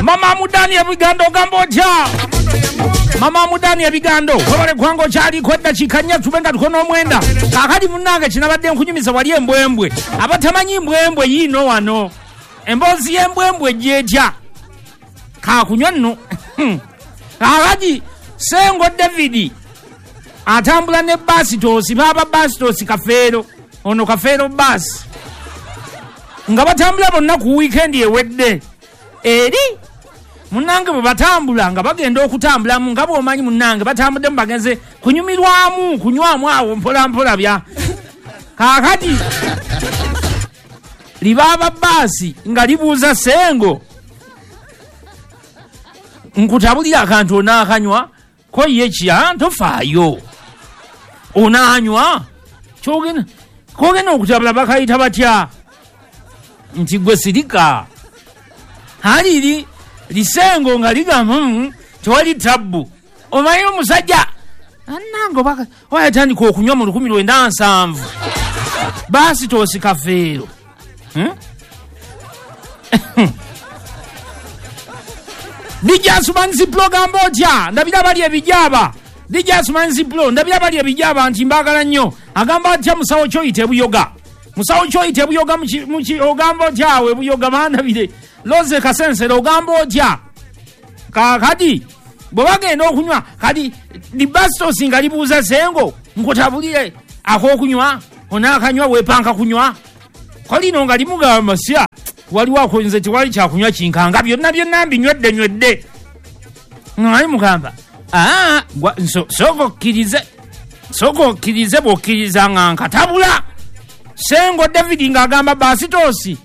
Mama Mudani ebigando ogamba otya? Mama Mudani ebigando webale kubanga okyaliko eddakiika 4 tube nga tuko n'omwenda. Kaakati munnange kinabadde nkunyumiza wali embwembwe. Abatamanyi mbwembwe yiino wano. Emboozi y'embwembwe gyetya? Kakunywa nno. Kaakati Sengo David atambula ne Basitosi, baaba Basitosi Kafeero, ono Kafeero baasi, nga batambula bonna ku wiikendi ewedde. Eri munnange bwe batambula nga bagenda okutambulamu nga bw'omanyi munnange batambuddemu bagenze kunyumirwamu kunywamu awo mpola mpola bya. Kaakati libaaba baasi nga libuuza Sengo, nkutabulira akantu onaakanywa ko ye kya tofaayo onaanywa kyogenda kogenda okutabula bakayita batya nti gwe sirika. Haliri lisengo nga ligamba tewali tabbu. Omanyi omusajja annange oba yatandika okunywa mu 1970 Basitosi Kafeero. DJ Asumanzi Pro gamba otya? Ndabira bali ebijaba. DJ Asumanzi Pro ndabira bali ebijaba nti mbagala nnyo. Agamba atya musawo kyoyita ebuyoga. Musawo kyoyita ebuyoga muki ogamba otya awo ebuyoga bandabire. Loze Kasensero ogamba otya? Kaakati bwe bagenda okunywa kati Basitosi nga libuuza Sengo nkutabulire ak'okunywa onaakanywa weepanka kunywa. Ko lino nga limugamba sya waliwo akonze tewali kyakunywa kinkanga byonna byonna mbinywedde nywedde. Nga mugamba sooka okkirize bw'okkiriza nga nkatabula. Sengo David ng'agamba Basitosi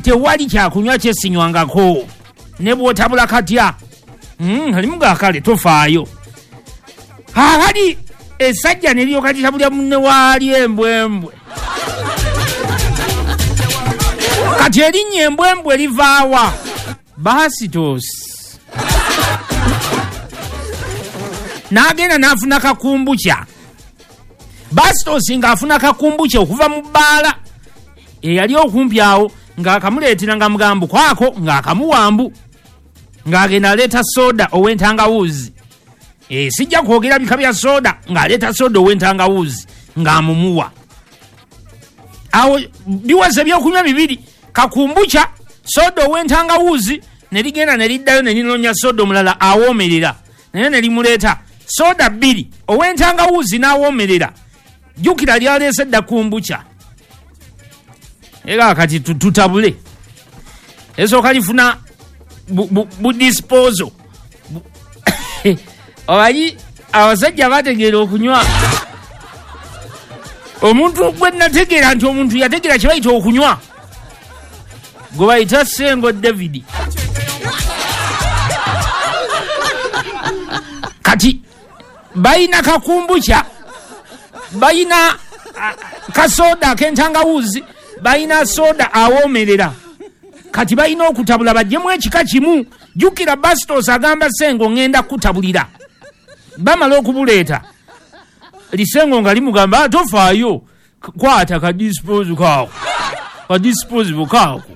tewali kyakunywa kyesinywangako ne bw'otabula katya. Alimuga kale tofaayo. Kaakati essajja ne lyoka litabulya munne waali embwembwe. Kati erinnya embwembwe livaawa? Basitosi n'agenda n'afuna kakumbukya. Basitosi ng'afuna kakumbukya okuva mu bbaala eyali okumpi awo ng'akamuleetera nga mugambo kwako ng'akamuwambu ng'agenda aleeta soda ow'entangawuzi. Sijja kwogera bika bya soda, ng'aleeta soda ow'entangawuzi ng'amumuwa. Awo biweze ebyokunywa bibiri, kakumbukya, soda ow'entangawuzi, ne ligenda ne liddayo ne linoonya soda omulala awoomerera naye ne limuleeta soda 2 ow'entangawuzi n'awoomerera. Jjukira lyaleese dda kumbukya. Era kati tutabule. Esooka lifuna bu disposal. Omanyi abasajja bategeera okunywa. Omuntu gwe nategeera nti omuntu yategeera kye bayita okunywa gwe bayita Sengo David. Kati bayina kakumbukya, bayina kasoda ak'entangawuzi, bayina soda awoomerera. Kati balina okutabula baggyemu ekika kimu. Jjukira Basitosi agamba Sengo ŋŋenda kutabulira. Bamala okubuleeta lisengo nga limugamba tofaayo kwata ka disposal kaako ka disposal kaako.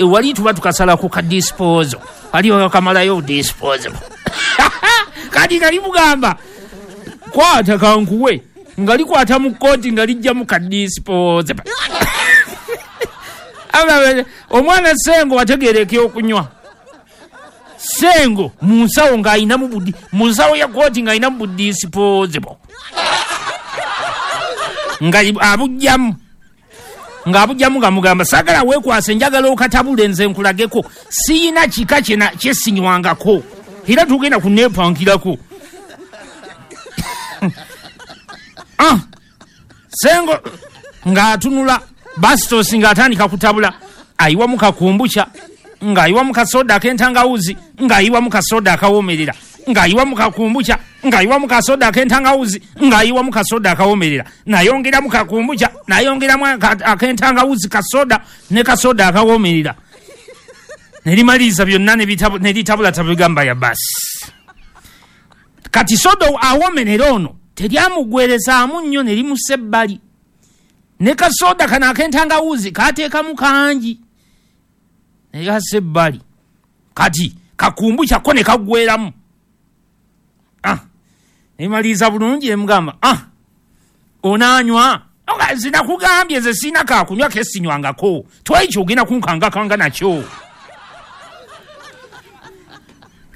Wali tuba tukasalako ka disposal kali kamalayo disposal. Kati nga limugamba kwata kankuwe, nga likwata mu kkooti nga lijjamu ka disposal. Omwana Sengo wategeera ekyokunywa. Sengo mu nsawo ng'ayinamu budi, mu nsawo ya kkooti ng'ayinamu budisposable nga abugyamu nga mugamba saagala weekwase njagala okatabule nze nkulageko siyina kika kyesinywangako era tugenda kuneepankirako. Sengo ng'atunula Basitosi ng'atandika kutabula, ayiwamu kakumbukya, ng'ayiwamu kasoda ak'entangawuzi, ng'ayiwamu kasoda akawoomerera, ng'ayiwamu kakumbukya, ng'ayiwamu kasoda ak'entangawuzi, ng'ayiwamu kasoda akawoomerera, nayongeramu kakumbukya, nayongeramu ak'entangawuzi kasoda ne kasoda akawoomerera. Ne limaliriza byonna ne litabula tabigamba ya basi. Kati soda awoomerera ono teryamugwerezaamu nnyo ne limussa ebbali. Ne kasoda kano ak'entangawuzi kateekamu kangi. Nekassa ebbali, kati kakumbu kyakko ne kaggweramu. Nemaliriza bulungi, nemugamba, "Onaanywa?" Nze nakugambye, nze sirina kakunywa kesinywangako, twali kyogenda kunkangakanga nakyo.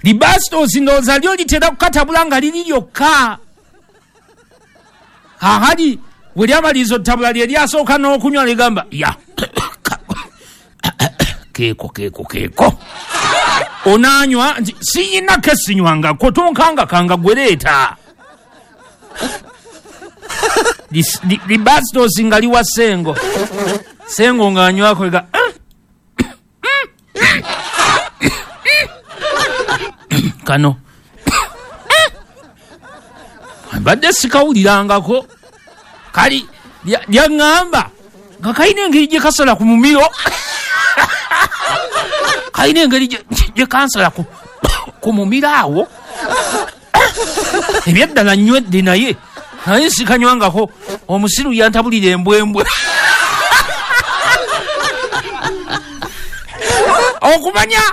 Libastos ndowooza lyo litera kukatabula nga liri lyokka. Kakati bwe lyamaliriza otutabula, lye lyasooka n'okunywa, ligamba, "Ya, keeko keeko keeko." "Onaanywa?" Nti, "Siyina kesinywangako, tonkangakanga, gwereeta." Libastos nga liwa Sengo, Sengo ng'anywako ga kano mbadde sikawulirangako. Kali lyaŋŋamba nga kalina engeri gye kasala ku mumiro, kalina engeri gye kansala ku mumiro awo. Ebyaddala nywedde, naye sikanywangako, omusiru yantabulira embwembwe. Okumanya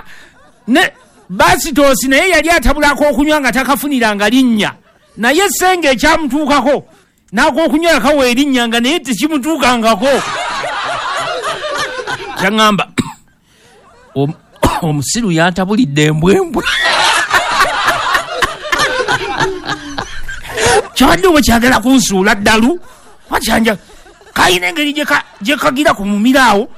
ne Basitosi naye yali atabulako okunywa nga takafuniranga linnya, naye senga ekyamutuukako n'akokunywa yakawa erinnya nga naye tekimutuukangako. Kyaŋŋamba, "Omusiru yantabulidde embwembwe." Kyabadde oba kyagala kunsuula ddalu, oba kyanja kalina engeri gye kagira ku mumiro awo.